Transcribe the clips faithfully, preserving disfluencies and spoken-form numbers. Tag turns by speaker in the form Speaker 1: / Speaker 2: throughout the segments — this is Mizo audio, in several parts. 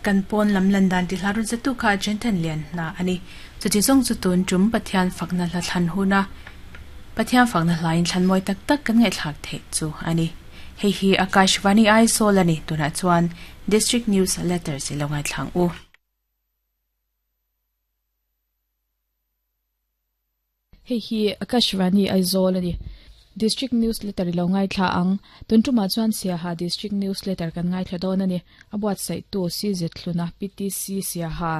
Speaker 1: Kan pawn lam lan dan ti hlarun zatu kha Jenthan lian na ani. Chuti zong chu tun tum Pathian fakna hla thlan huna Pathian fakna hlain thlan moi tak tak kan ngai thlak the chu ani. Hei hi Akashvani Aizawl ani tuna chuan District News Letters ilongai thlang u.
Speaker 2: Hei hi Akashvani Aizawl ani. District Newsletter lo ngai thla ang tuntuma chuan Siaha District Newsletter kan ngai thla dawn ani. Abuat sai tu C Z thluna P T C Siaha.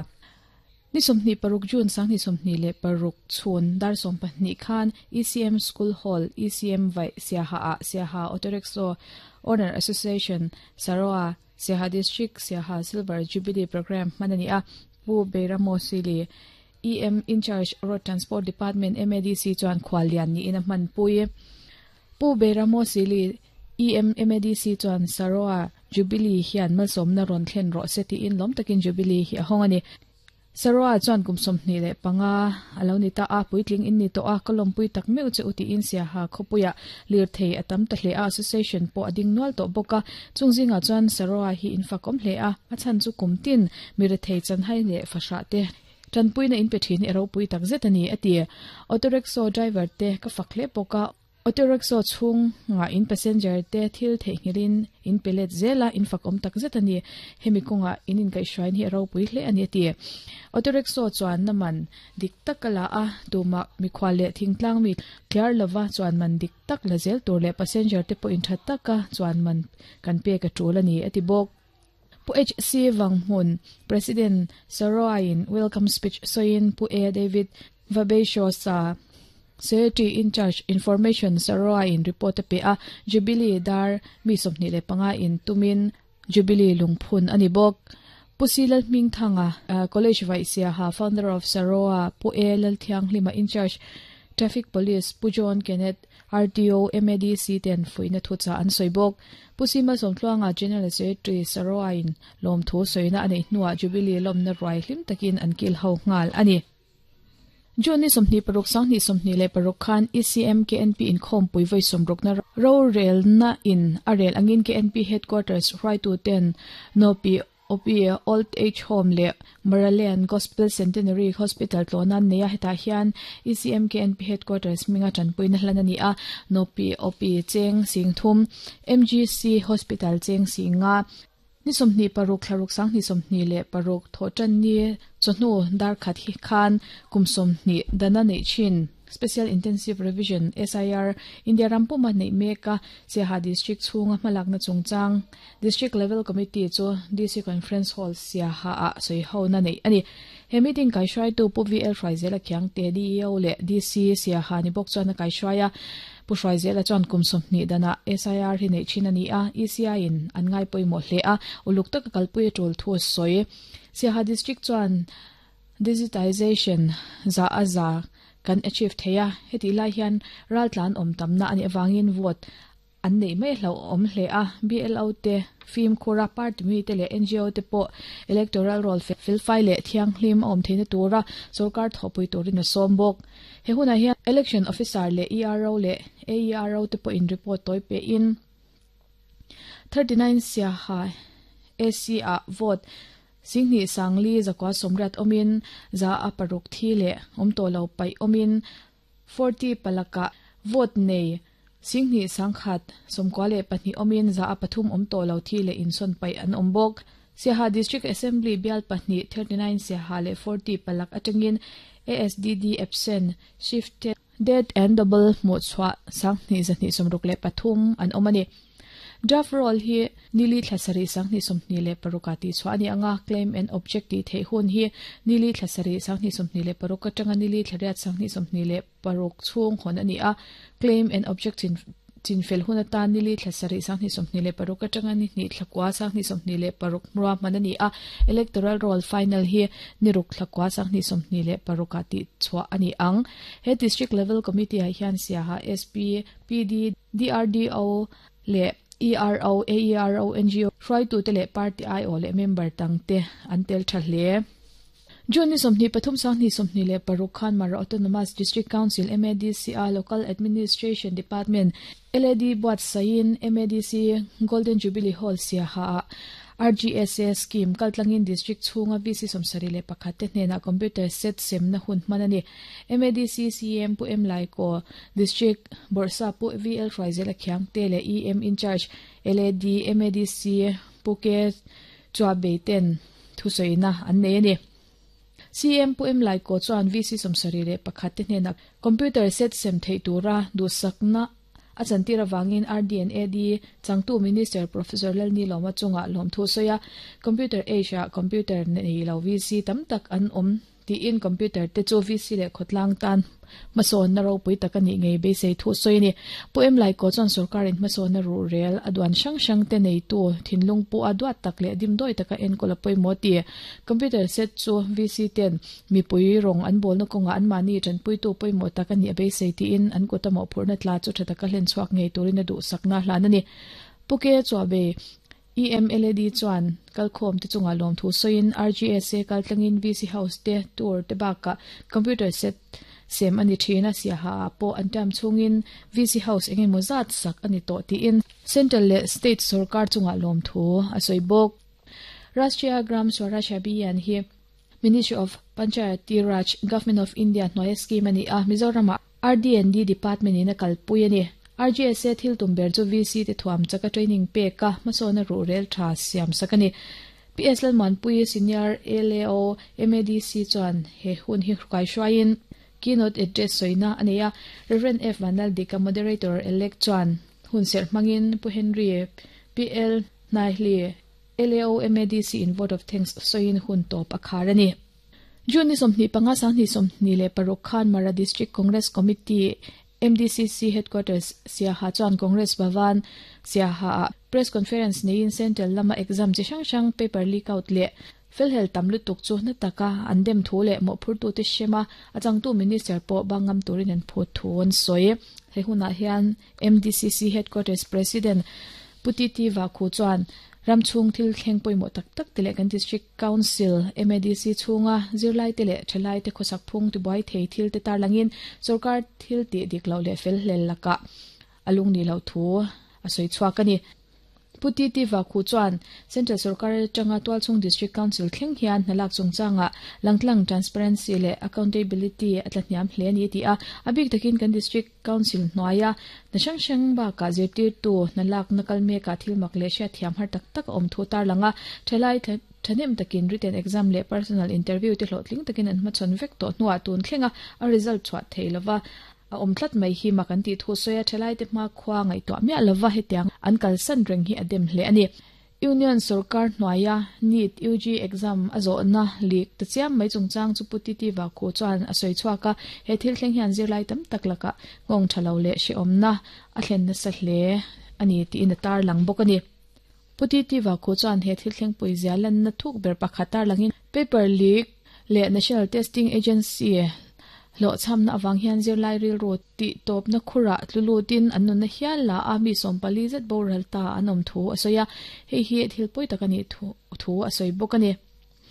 Speaker 2: Ni somni paruk June sang ni somni le paruk chun dar som pahnih khan E C M School Hall E C M Vai Siaha a Siaha Autorickshaw Owner Association Saroa Siaha District Siaha Silver Jubilee Program manani a Pu Beramo Sili E M in charge Road Transport Department M A D C chuan khwalian ni ina man pui Pu Beramo Sili E M M A D C chuan Saroa Jubilee hian malsawmna rawn thlen rawh se tiin lawm takin Jubilee hi a hawng ani. Saroa chuan kum sawmhnih leh panga alo ni ta a puitling in ni to a kolom pui tak meu che uti in Siaha khopuia lir thei atam ta hle a association po ading nual to boka chungzinga chuan Saroa hi infakom hle a a chan chu kumtin mire thei chan hai le fasha te tanpui na in pe thin ero pui tak zet ani ati. Autorickshaw driver te ka fakhle poka autorickshaw chung nga in passenger te thil theihngilin in pelet zela in fakom tak zet ani hemi konga in in kai shrine hi ero pui hle ani ati. Autorickshaw chuan naman dik takala a tuma mikhwale thingtlang mi clear lova chuan man dik tak la zel tur le passenger te po in that taka chuan man kan pe ka tul ani ati bok. Pu H C Wanghmun President Saroa in welcome speech soin Pu A David Vabesho sa Secretary in charge information Saroa in report pe a Jubilee dar mi somni le panga in tumin Jubilee lungphun ani bok. Pu Silal Ming Thanga College Vice Siaha founder of Saroa Pu A Lal Thiang Hlima in charge Traffic Police Pu John Kenneth R T O M A D C ten fuina thucha an soibok. Pu Sima Somtluanga General Secretary Saroa in lom thu soina ani hnuwa Jubilee lomna ruai hlim takin an kil ho ngal ani. June ni somni paruk sang ni somni le paruk khan E C M K N P in khom pui voi somruk na ro rel na in arel angin K N P headquarters right to ten no P O P Old Age Home le Maralian Gospel Centenary Hospital tlonan neya heta hian E C M K N P headquarters minga chanpui na hlana ni a no P O P cheng singthum M G C Hospital cheng singa ni somni paruk thlaruk sang ni somni le paruk thochan ni chonu dar khat hi khan kumsomni dana nei chin Special Intensive Revision S I R India rampuma nei meka Siaha District chunga malak na chungchang District Level Committee chu D C Conference Hall Siaha a soi ho na nei ani. He meeting kai shrai tu Pu V L Hruaizela Khiang te D E O le D C Siaha ni bok chuan kai shraia Pu Hruaizela chuan kumsomni dana S I R hi nei chin ani a E C I in an ngai poimo hle a uluk taka kalpui tul thu soi. Siaha District chuan digitization za aza kan achieve theia heti lai hian raltlan om tamna ani awangin vote an nei mai hlo om hle a B L O te film khura party mi te le N G O te po electoral roll fil file le thiang hlim om theina tura sarkar thopui turin a sombok. He huna hian election officer le E R O le A E R O te po in report toi pe in thirty-nine Siaha A C a vote singni sangli zakwa somrat omin za aparuk thi le omto lo pai omin forty palaka vote nei singni sangkhat somkwa le pahnih omin za apathum omto lo thi le inson pai an ombok. Siaha District Assembly bial pahnih thirty-nine Siaha le forty palak atangin A S D D absent shifted dead and double mo chwa sangni zani somruk le pathum an omani. Draft roll hi nili thlasari sangni somni le parukati chwani anga claim and object ti thei hun hi nili thlasari sangni somni le paruk atanga nili thlariat sangni somni le paruk chung hon ani a claim and object in chin fel hun ata nili thlasari sangni somni le paruk atanga ni ni thlakwa sangni somni le paruk mra manani a electoral roll final hi niruk thlakwa sangni somni le parukati chwa ani ang. He district level committee a hian Siaha S P P D D R D O le E R O A E R O N G O try to tele party I O le member tang te antel tha hle. June ni sawmhnih pathum sanghnih sawmhnih leh paruk khan Mara Autonomous District Council M A D C a Local Administration Department L A D buatsaihin M A D C Golden Jubilee Hall Siaha ah R G S A scheme kaltlangin district chhunga V C sawmsarih leh pakhat te hnenah computer set semna hun hman a ni. M A D C C M Pu M Laiko District Bawrhsa Pu V L Hruaizela Khiangte leh E M in charge L A D M A D C Pu K Chuabei ten thusawiina an nei a ni. C M Pu M Laiko chuan V C sawmsarih leh pakhat te hnenah computer set sem theih tura duhsakna a chantir awangin R D and A D changtu Minister Professor Lalni Lawma chunga lawm thu sawi a computer age ah computer nei lo V C tam tak an awm tiin computer te chu V C leh khawtlang tan hmasawn na ropui tak ani ngei beisei thu sawi a ni. Pu M Laiko chuan sarkarin hmasawn na ruh rel a duan hrang hrang te nei tu thinlung pu a duat tak leh dimdawi taka enkawl a pawimawh ti. Computer set chu V C ten mipui rawng an bawlna kawngah an mahni tanpuitu pawimawh tak ani a beisei tiin an kut a mawhphurhna tla chu tha taka hlen chhuak ngei turin a duhsakna hlan a ni. Pu K Chuabei E M L A D chuan kalkhawm te chunga lawm thu sawiin R G S A kaltlangin V C House te tour te bakah computer set sem ani thina Siaha ah pawh an term chhungin V C House engemaw zat sak ani tawh tiin Central leh State sarkar chunga lawm thu a sawi bawk. Rashtriya Gram Swaraj Abhiyan hi Ministry of Panchayati Raj Government of India hnuaia scheme ani a Mizoram ah R D and D Department in a kalpui a ni. R G S A thil tum ber chu V C te thuam chaka training pek a hmasawn a ruh rel tha siam sak a ni. P S Lalmuanpui Senior L A O M A D C chuan he hun hi hrukai hruaiin keynote address sawina a nei a. Reverend F Vanlaldika moderator elect chuan hun serh hmangin Pu Henry P L Hnaihli L A O M A D C in vote of thanks sawiin hun tawp a khar a ni. June ni sawmhnih panga sanghnih sawmhnih leh paruk khan Mara District Congress Committee M D C C Headquarters Siaha chuan Congress Bhavan Siaha ah press conference neiin Central lama exam chi hrang hrang paper leak out leh felhel tam lutuk chu na taka an dem thu leh mawhphurtu te hrema a changtu minister pawh bangam turin an phut thu an sawi. He hunah hian M D C C Headquarters President Pu T T Vakhu chuan ramchhung thil thleng pawimawh tak tak te leh kan District Council M A D C chhunga zirlai te leh thalai te khawsak phung tibuai thei thil te tarlangin sarkar thil tih dik lo leh fel hlel lakah a lung ni lo thu a sawi chhuak a ni. Pu T T Vakhu chuan Central sarkar atanga Tualchhung District Council thleng hian hnalak chungchanga langtlang transparency leh accountability a tla hniam hle ani ti a. A bik takin kan District Council hnuaia na hrang hrang bakah zirtirtu hnalak na kal mekah thil mak leh hriat thiam har tak tak a awm thu tarlanga thalai thanem takin written exam leh personal interview te hlawhtling takin an hmachhawn vek tawh hnuah tun thlenga a result chhuah thei lova a awm tlat mai hi mak an tih thu sawi a thalai te hma khua ngaihtuah miah lova hetiang an kalsan reng hi a dem hle a ni. Union sarkar hnuaia NEET U G exam a zawhna leak ta chiam mai chungchang chu Pu T T Vakhu chuan a sawi chhuak a. He thil thleng hian zirlai tam tak lakah nghawng tha lo leh hrehawmna a thlen nasa hle ani tiin a tarlang bawk a ni. Pu T T Vakhu chuan he thil thleng pui zia lanna thuk ber pakhat tarlangin paper leak leh National Testing Agency hlawh chhamna awang hian zirlai ril ro tih tawpna khurah tlulutin an nunna hial la a mi sawmpali zet boral ta an awm thu a sawi a. Hei hi thil pawi tak ani thu thu a sawi bawk a ni.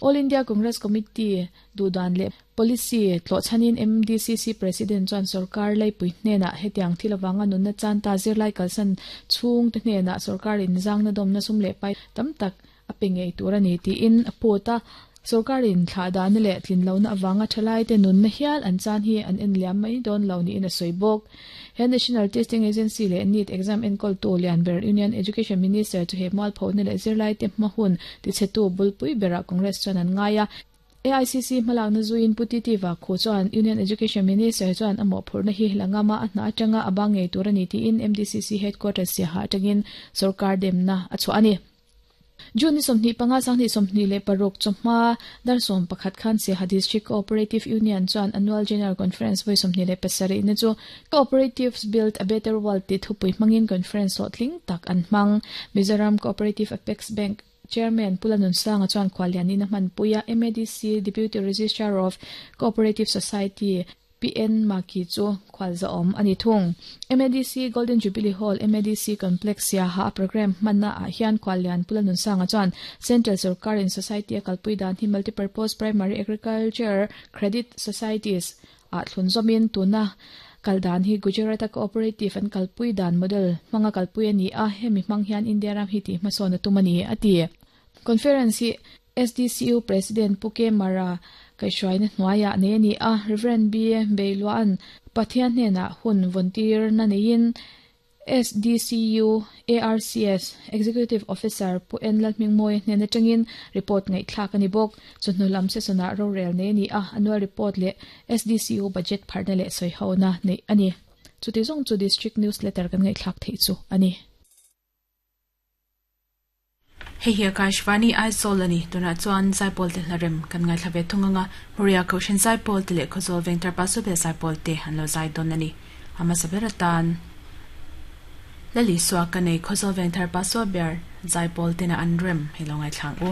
Speaker 2: All India Congress Committee duhdan leh policy tlawhchhanin M D C C President chuan sarkar leipui hnenah hetiang thil awanga nunna chan ta zirlai kalsan chhung te hnenah sarkarin zangna dawmna sum leh pai tam tak a pe ngei tur ani tiin a phut a. Sarkarin thla dan leh tlin lona awanga thalai te nunna hial an chan hi an en liam mai dawn lo ni in a sawi bawk. He National Testing Agency leh NEET exam enkawl tu Lianber Union Education Minister chu he mual phona leh zirlai te hma hun ti chhetu bulpui berah Congress chuan an ngai a. A I C C hmalakna zuin Pu T T Vakhu chuan Union Education Minister chuan a mawhphurhna hi langama a hna atanga a bang ngei tur ani tiin M D C C Headquarters Siaha atangin sarkar demna a chhuah a ni. June ni sawmhnih panga sanghnih sawmhnih leh paruk chawhma dar sawm pakhat khan Siaha District Cooperative Union chuan Annual General Conference vawi sawmhnih leh pasarih na chu Cooperatives Build a Better World ti thupui hmangin conference hlawhtling tak an hmang. Mizoram Cooperative Apex Bank Chairman Pulanun Sanga chuan khwalianin a hmanpuia M A D C Deputy Registrar of Cooperative Society P P N Maki chu khwalza om ani thung. M A D C Golden Jubilee Hall, M A D C Complex ya ha program manna a hian khwalian pulanun sanga chuan Central Sarkar in Society a kalpui dan hi Multipurpose Primary Agriculture Credit Societies a thlun zomin tuna kaldan hi Gujarat Cooperative an kalpui dan model manga kalpui ani a, hemi hmang hian India ram hi ti hmasona tumani ati. Conference hi S D C U President Puke Mara kaihruaina hnuaia nei ani a. Reverend B Beiluan Pathian hnena hun vontir na neiin S D C U A R C S Executive Officer Pu En Lalhmingmawi hnena tangin report ngai thlak ani bawk. Chawhnu lam session-ah rorel nei ani a, annual report leh S D C U budget pharna leh sawi hona nei ani. Chuti zawng chu district newsletter kan ngai thlak thei chu ani.
Speaker 1: Hei hi Akashvani Aizawl ani. Tuna chuan zaipawl te hlarem kan ngai thlave thunganga Moria Koshen zaipawl te leh Khawzawl Vengthar Paso zaipawl te han lo zai don ani. Ama sabera tan Lali Swa ka nei, Khawzawl Vengthar Paso ber zaipawl te na an rem hi lo ngai thlang u.